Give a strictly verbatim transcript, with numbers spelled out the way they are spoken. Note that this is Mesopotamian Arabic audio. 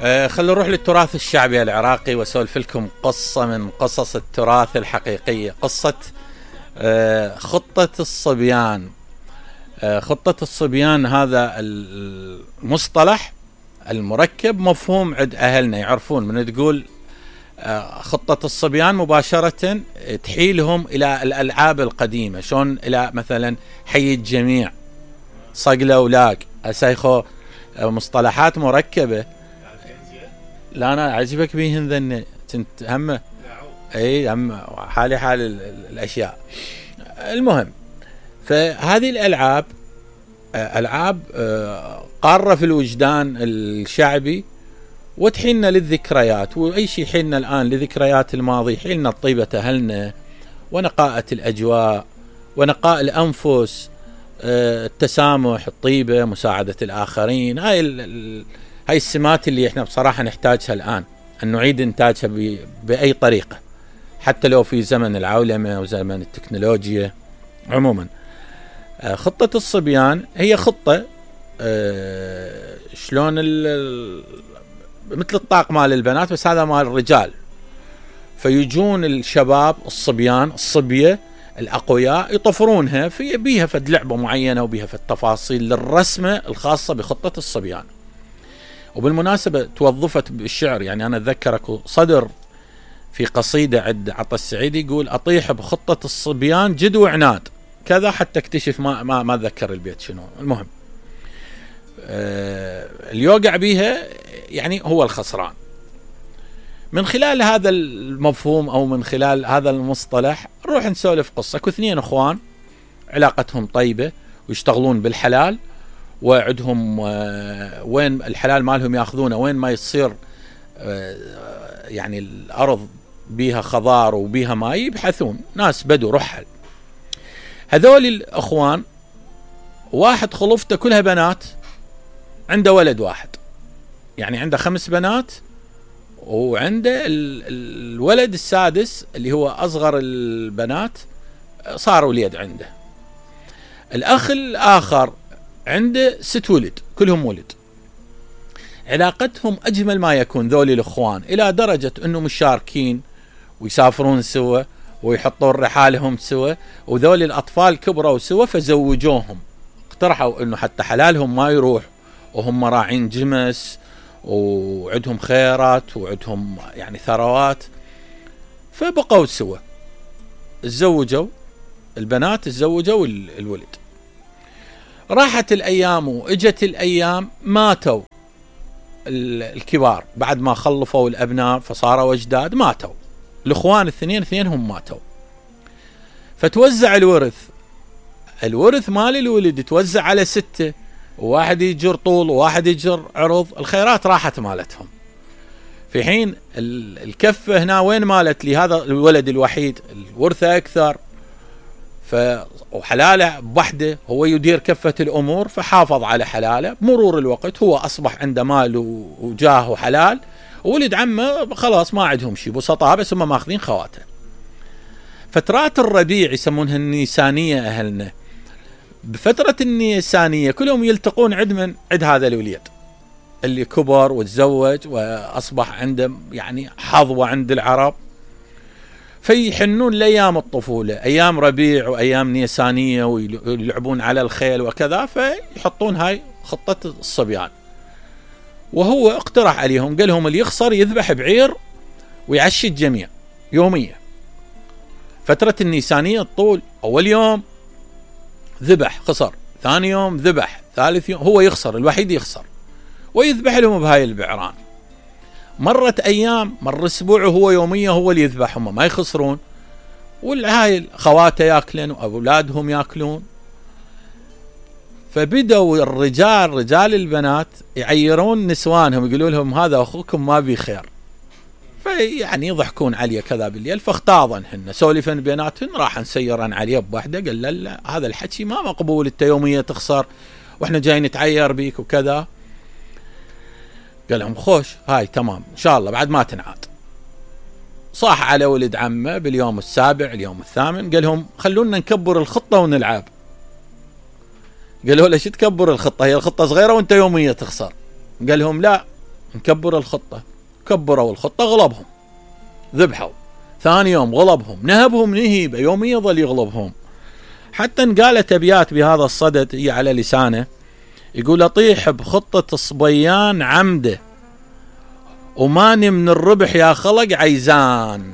آه خلينا نروح للتراث الشعبي العراقي واسولف لكم قصة من قصص التراث الحقيقية. قصة آه خطة الصبيان. آه خطة الصبيان هذا المصطلح المركب مفهوم عند أهلنا يعرفون من تقول آه خطة الصبيان مباشرة تحيلهم إلى الألعاب القديمة، شون إلى مثلا حي الجميع، صقلة ولاق، أسايخو مصطلحات مركبة. لا أنا عجبك بيهن ذن كنت همه أي هم حالي حال الأشياء. المهم فهذه الألعاب ألعاب قارة في الوجدان الشعبي وتحيلنا للذكريات، وأي شيء حيلنا الآن لذكريات الماضي، حيلنا طيبة أهلنا ونقاءة الأجواء ونقاء الأنفس، التسامح، الطيبة، مساعدة الآخرين. هاي هاي السمات اللي احنا بصراحة نحتاجها الآن، أن نعيد إنتاجها بأي طريقة حتى لو في زمن العولمة وزمن التكنولوجيا. عموما خطة الصبيان هي خطة شلون مثل الطاق مال البنات بس هذا مال الرجال. فيجون الشباب الصبيان الصبية الأقوياء يطفرونها في بيها فد لعبة معينة وبيها فد تفاصيل للرسمة الخاصة بخطة الصبيان. وبالمناسبة توظفت بالشعر، يعني أنا أتذكرك صدر في قصيدة عند عطا السعيدي يقول أطيح بخطة الصبيان جد وعناد كذا حتى اكتشف ما ما ما أتذكر البيت شنو. المهم آه اليوقع بيها يعني هو الخسران. من خلال هذا المفهوم أو من خلال هذا المصطلح نروح نسولف قصة. اثنين أخوان علاقتهم طيبة ويشتغلون بالحلال، وعدهم وين الحلال مالهم ياخذونه وين ما يصير يعني الأرض بيها خضار وبيها ماء يبحثون، ناس بدو رحل. هذول الأخوان واحد خلفته كلها بنات، عنده ولد واحد، يعني عنده خمس بنات وعنده الولد السادس اللي هو أصغر البنات صار وليد عنده. الأخ الآخر عنده ست ولد كلهم ولد. علاقتهم أجمل ما يكون ذولي الأخوان، إلى درجة أنه مشاركين ويسافرون سوا ويحطون رحالهم سوا، وذولي الأطفال كبروا سوا فزوجوهم. اقترحوا أنه حتى حلالهم ما يروح وهم راعين جمس وعندهم خيرات وعندهم يعني ثروات، فبقوا سوا. تزوجوا البنات، تزوجوا الولد. راحت الأيام وإجت الأيام، ماتوا الكبار بعد ما خلفوا الأبناء فصاروا أجداد، ماتوا الأخوان الاثنين اثنينهم ماتوا. فتوزع الورث، الورث مال الولد توزع على ستة، وواحد يجر طول وواحد يجر عرض، الخيرات راحت مالتهم. في حين الكفة هنا وين مالت لهذا الولد الوحيد الورثة أكثر، وحلاله بوحده هو يدير كفة الأمور فحافظ على حلاله. بمرور الوقت هو أصبح عنده مال وجاه وحلال، وولد عمه خلاص ما عندهم شيء، بسطاء بس هم ماخذين خواته. فترات الربيع يسمونها النيسانية أهلنا. بفترة النيسانية كلهم يلتقون عند من عند هذا الوليد اللي كبر وتزوج وأصبح عنده يعني حظوة عند العرب، فيحنون لأيام الطفولة، أيام ربيع وأيام نيسانية ويلعبون على الخيل وكذا، فيحطون هاي خطة الصبيان. وهو اقترح عليهم قال لهم اللي يخسر يذبح بعير ويعشي الجميع يوميا. فترة النيسانية الطول، أول يوم ذبح خسر، ثاني يوم ذبح، ثالث يوم هو يخسر الوحيد يخسر، ويذبح لهم بهاي البعران. مرت أيام، مر أسبوع وهو يوميا هو اللي يذبحهم ما يخسرون، والهاي خواته ياكلون وأولادهم ياكلون. فبدأوا الرجال رجال البنات يعيرون نسوانهم، يقولوا لهم هذا أخوكم ما بي خير، فيعني يضحكون عليه كذا بالليل. فاختاضنهن سولفن بيناتهن، راح نسيرن عليه بوحده قال لا, لا هذا الحكي ما مقبول، انت يوميا تخسر واحنا جايين نتعير بيك وكذا. قال لهم خوش هاي تمام ان شاء الله بعد ما تنعاد. صاح على ولد عمه باليوم السابع اليوم الثامن، قال لهم خلونا نكبر الخطة ونلعب. قالوا له ليش تكبر الخطة، هي الخطة صغيرة وانت يوميا تخسر. قال لهم لا نكبر الخطة. كبروا الخطة، غلبهم، ذبحوا. ثاني يوم غلبهم، نهبهم نهيبة يوميا، ظل يغلبهم. حتى انقالت أبيات بهذا الصدد هي على لسانه، يقول: أطيح بخطة صبيان عمده، وماني من الربح يا خلق عيزان.